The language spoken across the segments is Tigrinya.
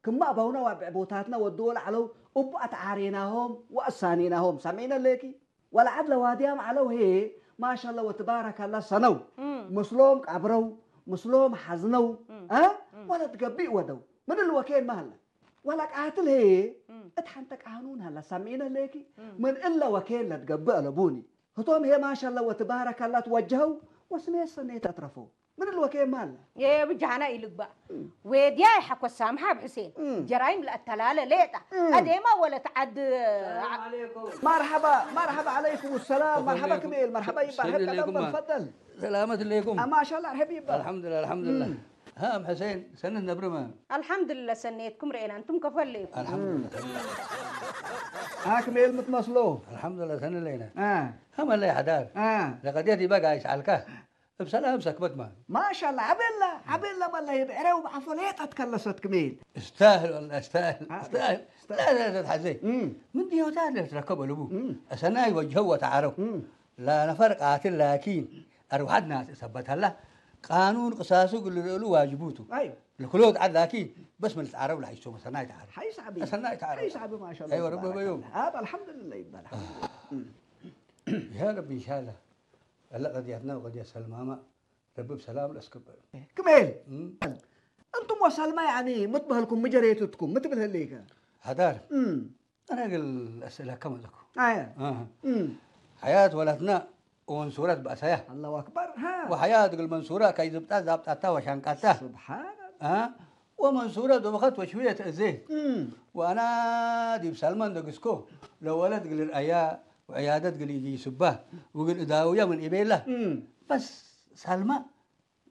ክማ ኣባውና ዋብዕ ቦታትና ወድዎ ለዓለው እቡ ኣትዓሬናሆም ወኣሳኔናሆም። ሰሚዕነ ኣለኪ? ወለዓድ ለዋድያም ዓለው ሄ ማሻላ ወትባረካላ ሰነው። ምስሎም ቀብረው፣ ምስሎም ሓዝነው። እ? ወለት ገቢእ ወደው። ምን እልወ ኬን ማህላ? ወላ ቃትል ሄ እት ሓንተ ቃኑን ሃላ። ሰሚዕነ ኣለኪ? ምን እለ ወኬን ለትገብእ ኣለቡኒ። ህቶም ሄ ማሻላ ወትባረካላ ትወጀኸው ወስሜ ሰኔት ኣትረፈው። ምን እልወ ኬን ማህላ? የብጃህና ኢልግባእ። ዌድያ ይሓኮስ ሳምሓ ኣብ ሕሴን። ጀራይም ለኣተላለ ሌጣ። ኣዴማ ወለት ዓድ መርሓባ፣ መርሓባ ዓለይኩም ሰላም። መርሓባ ክሜል፣ መርሓባ ይባል። ሰኒ ሄብ ኣለይኩም። ተቀበል፣ ፈደል። ሰላመት ኣለይኩም። አ፣ ማሻላ፣ ርሕብ ይባል። ኣልሓምዱሊላህ፣ ኣልሓምዱሊላህ። ሃ፣ ኣም ሕሴን፣ ሰኒ ነብርመ። ኣልሓምዱሊላህ፣ ሰነየትኩም ርኤና፣ እንቱም ከፈለይኩም። ኣልሓምዱሊላህ። አ፣ ክሜል ምትመስሎ። ኣልሓምዱሊላህ፣ ሰኒ ለይና። አ። ሃ፣ መለይ ሓዳር። አ። ለቀድየት ይበጋ ይስዓልካ። እብ ሰላም ሰክበት ማ። ማሻላ፣ ዓቤላ፣ ዓቤላ መለይ ብዕረው ብዓፎ ሌጣት ከለሰት ክሜል። استاهل والله، استاهل، አ፣ استاهل። استاهل። لا، لا، لا، تحزي. እም። من ديوتا اللي تركب ألبو. እም። أسناي وجهه وتعارف. እም። لا نفر قاتل، لكن أروحتنا ثبت هلا. قانون قصاصه كل له واجبوته. أيوة. لكل وضع، لكن بس من التعارف لا يسوى، أسناي تعارف. حيس عبي. أسناي تعارف. حيس عبي، ما شاء الله، أيوة، ربي تبارك بيوم. الله. هذا الحمد لله يبقى الحمد لله. እም። يا رب إن شاء الله. هلا قضيتنا وقضية سلمى ما ربي بسلام الأسكب. ክሜል፣ እም። እንቱም ወሰልማ ያኒ ምትበህልኩም ምጀሬትትኩም ምትብል ህልይከ? ሓዳር። እም። أنا أقول أسئلة كم لكم؟ ኣየ። ኣሃ። እም። ሓያት ወላትና ወመንሱራት በእሳያ። ኣላሁ ኣክበር። ሃ። ወሓያት እግል መንሱራ ከይዝብጣ ዛብጣታ ወሻንቃታ። ስብሓን ኣላ። አ? ወመንሱረ ዶበኸት ወሽውየት እዜ። እም። ወአና ዲብ ሳልማን ደግስኮ ለወለት እግል ርአያ ወዕያደት እግል ኢጊስባ ወእግል እዳውያ ምን ኢቤላ። እም። በስ ሳልማ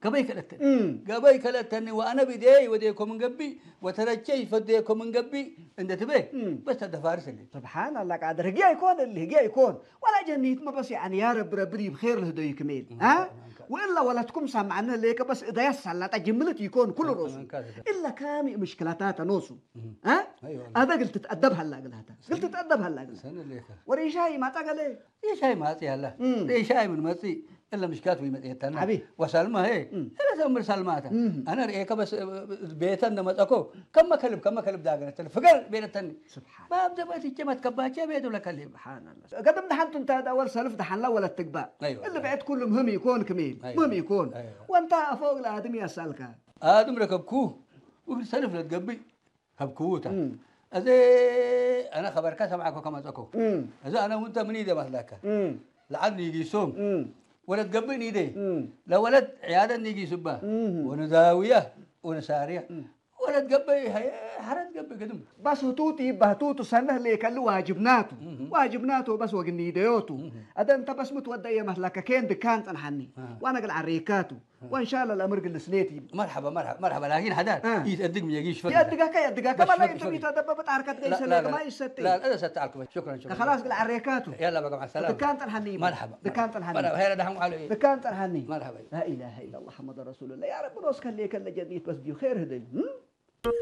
ገበይ ከለተኒ። እም። ገበይ ከለተኒ ወአነ ብዴይ ወዴኮ ምን ገብእ ወተረቸይ ፈዴኮ ምን ገብእ እንደ ትቤ እም። በስ ተደፋርስ እሊ። ስብሓን ኣላ ቃድር ህግያ ይኮን እሊ ህግያ ይኮን። ወላ ጀኒት መበስ ያዕኒ ያ ረቢ ረቢ ዲብ ኼር ልህደዩ ክሜል። እም። አ? እም። ወእላ ወለትኩም ሳምዓነ ሌከ በስ እዳያ ሳላጣ ጅምልት ይኮን ኩሉ ሮሱ። እም። እላ ካሚ ምሽክላታተ ኖሱ። እም። አ? ኣይዋ። ኣበ ግል ትትአደብ ሃላ ግላታ። ግል ትትአደብ ሃላ ግላታ። ሰነ ሌከ። ወሬሻ ይማጣ ገለ። ሬሻይ ማጽእ ያለ። እም። ሬሻይ ምን መጽእ እለ ምሽካት ወይ መጽኤታና። ሓቢ። ወሳልማ ሄ። እም። እለ ሰምር ሳልማታ። እም። አነ ርኤከ በስ ቤተ እንደመጸኮ ከመ ከልብ ከመ ከልብ ዳገነተል ፍገር ቤለተኒ። ስብሓን። ባብ ደበት ይጨመት ከባቸ ቤት ብለከልብ። ስብሓን ኣላ። ገድም ደሓንቱ እንተ ዳወል ሰልፍ ደሓንላ ወለት ትግባእ። ኣይዋ። እለ ብዕት ኩሉ ምህም ይኮን ክሜል። ኣይዋ። ምህም ይኮን። ኣይዋ። ወንታ ኣፎ እግለ ኣድም ያሳልካ። ኣድም ረከብኩ። ወግል ሰልፍ ለትገብእ። ከብክውታ። እም። እዚ ኣነ ኸበርካ ሰምዓኮ ከመጸኮ። እም። እዚ ኣነ ውንተ ምን ኢደ መስላካ? እም። ለዓድ ኒጊሶም። እም። ወለት ገብእ ኒደ። እም። ለወለት ዕያደት ኒጊሱባ። እም። ወንዛውያ ወንሳርያ። እም። ወለት ገብእ ሀየ ሐረት ገብእ ግድም። በስ ህቱቱ ይባ ህቱቱ ሰነህ ሌከሉ ዋጅብናቱ። እም። ዋጅብናቱ በስ ወግኒደዮቱ። እም። ኣደ እንተ በስ ምትወደየ መስላካ ኬን ድካን ጸንሓኒ። አ። ዋና ግል ዓሬካቱ። وإن شاء الله الأمر قل سنيتي. مرحبا، مرحبا، مرحبا، لكن هذا آه. يتأدق من يجيش فقط. يأدقك، يأدقك، بس، ما لا بس، ينتم بس. يتأدب بتعرك لا، ديس لا، لك، لا. ما يستي. لا، لا، ستعرف. شكرًا، شكرًا. خلاص، قل عريكاتو. يلا بقى، مع السلامة. دكان تنحني. مرحبا، دكان مرحبا. تنحني. مرحبا، هي دحم على إيه؟ دكان تنحني. مرحبا. لا إله إلا الله محمد رسول الله. يا رب، روس خليك، اللي جديد بس ديو خير هدي. هم؟